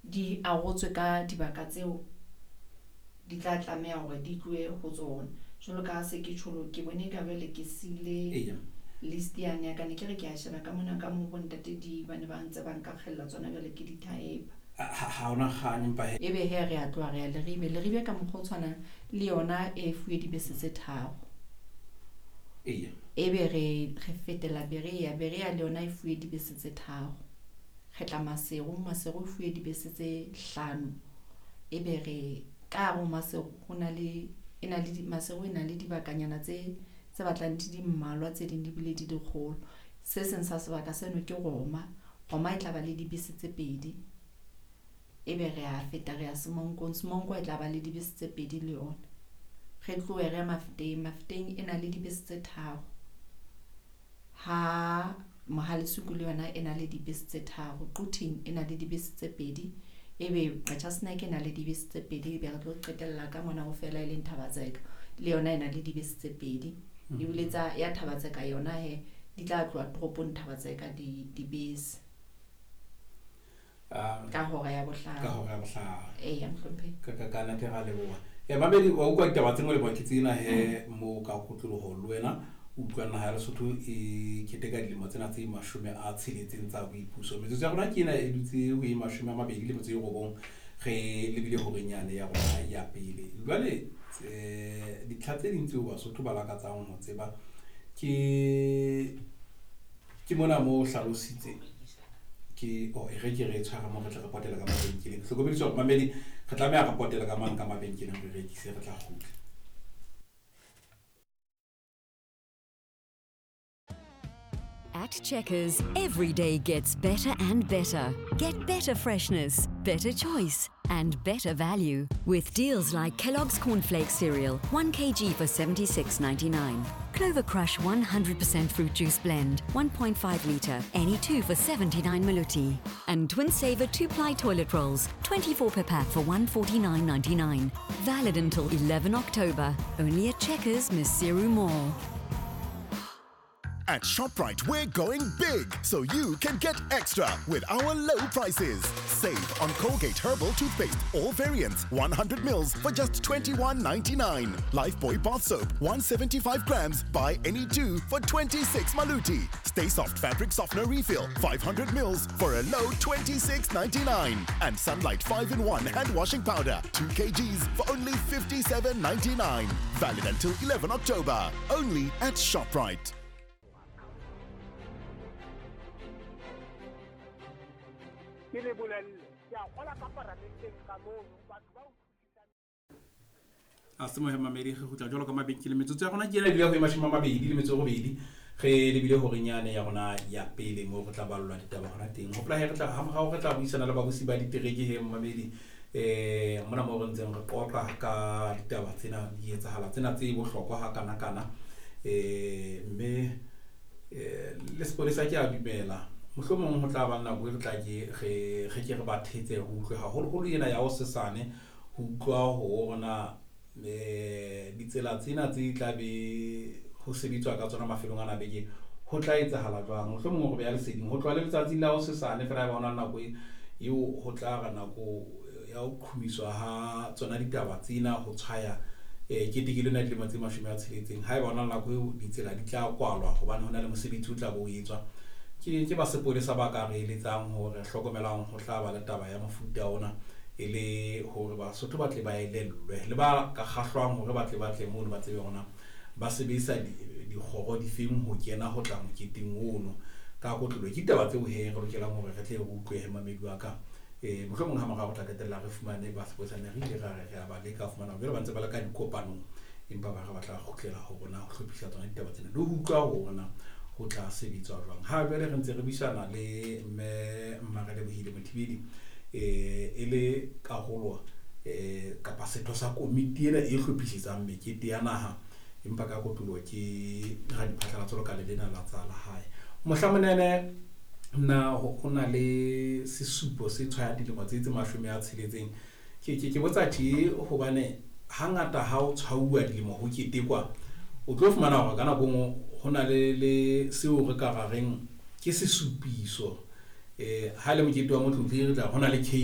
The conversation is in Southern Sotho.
Di arotswe ka dibaka tseo di tla tlameha hore di tlohe ho tsona. Jwalo ka ha se ke tjholo, ke bone ka jwale ke siile list yane ya ka, ne ke re ke a sheba ka mona ka moo bontate di ba ne ba ntse ba nka kgella tsona jwale ke di type. Ha hona kgang empa he. Ebe he re a tloha re ya Leribe. Leribe ka mokgwa o tshwanang le yona e fuwe dibese tse tharo. Ebe re fetela Berea. Berea le yona e fuwe dibese tse tharo. Re tla Maseru, Maseru e fuwe dibese tse hlano. Ebe re ka hare ho Maseru ho na le e na le Maseru e na le dibakanyana tse tse batlang di di mmalwa, tse ding di bile di le kgolo. Se seng sa sebaka seno ke Roma. Roma e tla ba le dibese tse pedi. Ebe re a feta re ya Semonkong. Semonko e tla ba le dibese tse pedi le yona. Re tlohe re ye Mafeteng. Mafeteng e na le dibese tse tharo. Ha Mohalesuku le yona e na le dibese tse tharo. Quthing e na le dibese tse pedi. Ebe Qacha's Nek e na le dibese tse pedi. Ebe re tlo qetella ka mona ho fela e leng Thabatseka. Le yona e na le dibese tse pedi. Ebile tsa ya Thabatseka yona he di tla tloha toropong Thabatseka di dibese. Ka hora ya bohlano. Ka hora ya bohlano. Eya, mohlomphehi. Ka nnete ra leboha. Mamedi, wa utlwa ditaba tse molemo ke tsena he mo ka kotloloho le wena o utlwa naha ya Lesotho e keteka dilemo tsena tse 60 tsa boipuso. Metsotso ya rona ke ena e dutse ho e 29 re lebile horeng yane ya rona ya pele. Jwale ditlha tse ding tseo Basotho ba lakatsang ho tseba ke ke mona mo o hlalositse ke oh e re ke re tshware mo re tle re potele ka mabenkeleng. Hlokomediswa hore mamedi re tlameha re potele ka mang ka mabenkeleng re rekise re tla kgutla. At Checkers, every day gets better and better. Get better freshness, better choice, and better value with deals like Kellogg's Cornflakes cereal, 1 kg for 76.99. Clover Crush 100% fruit juice blend, 1.5 litre, any two for 79 Maluti. And Twinsaver 2-ply toilet rolls, 24 per pack for 149.99. Valid until 11 October. Only at Checkers, Maseru Mall. At ShopRite, we're going big, so you can get extra with our low prices. Save on Colgate Herbal Toothpaste, all variants, 100 mils for just 21.99. Lifebuoy Bath Soap, 175 grams, buy any two for 26 Maluti. Stay Soft Fabric Softener Refill, 500 mils for a low 26.99. And Sunlight 5-in-1 Hand Washing Powder, 2 kgs for only 57.99. Valid until 11 October, only at ShopRite. Ke le bolelle, ke a kgola ka paramenteng ka mono, batho ba utlwisisang. A se mohe mamedi re kgutla jwalo ka mabenkele. Metsotso ya rona ke ena e dula ho e 28 re lebile horeng yane ya rona ya pele moo re tla ballwa ditaba hona teng. Hopola he re tla hamorao re tla buisana le babusi ba ditereke he mamedi mona moo re ntseng re qoqa ka ditaba tsena di etsahala tsena tse bohlokwa ha kana kana mme le sepolesa ke a dumela mohlomong ho tla ba nako e re tla ke re ke re ba thetse ho utlwe haholoholo ena ya ho sesane ho utlwa ho rona ditsela tsena tse tla be ho sebetswa ka tsona mafelong ana beke ho tla etsahala jwang. Mohlomong re beha leseding ho tloha le letsatsing la ho sesane fela ba hona nako eo ho tla re nako ya ho qhumiswa ha tsona ditaba tsena ho tshwaya ketekelo ena dilemo tse 60. Haeba hona nako eo ditsela di tla kwalwa hobane hona le mosebetsi o tla bo o etswa ke ba sepolesa ba ka re eletsang hore hlokomelang ho tla ba le taba ya mofuta ona e le hore Basotho ba tle ba elellwe le ba ka kgahlwang hore ba tle mono ba tsebe hore ba sebedisa dikgoro difeng ho kena ho tla moketeng ono ka kotlolo. Ke ditaba tseo he re lokelang hore re tle re utlwe he mamedi wa ka. Mohlomong ha morao re tla qetella re fumane ba sepolesa ne re ile ra re re a ba leka ho fumana jwale ba ntse ba le ka dikopanong empa ba re ba tla kgutlela ho rona ho hlophisa tsona ditaba tsena le ho utlwa ho rona ho tla sebetswa jwang. Ha jwale re ntse re buisana le mme Mmarelebohile Mothibeli e le karolo kapa setho sa komiti ena e hlophisetsang mekete ya naha empa ka kotloloho ke radiphatlalatso lekale lena la tsa lehae. Mohlamonene na ho na le sesupo se tshwayang dilemo tse 60. Ke botsa tje hobane hangata ha o tshwauwa dilemo ho ketekwa o tlo fumana hore ka nako nngwe ho na le seo re ka ra reng ke sesupiso. Ha le mokete wa motlotli re tla ho na le cake.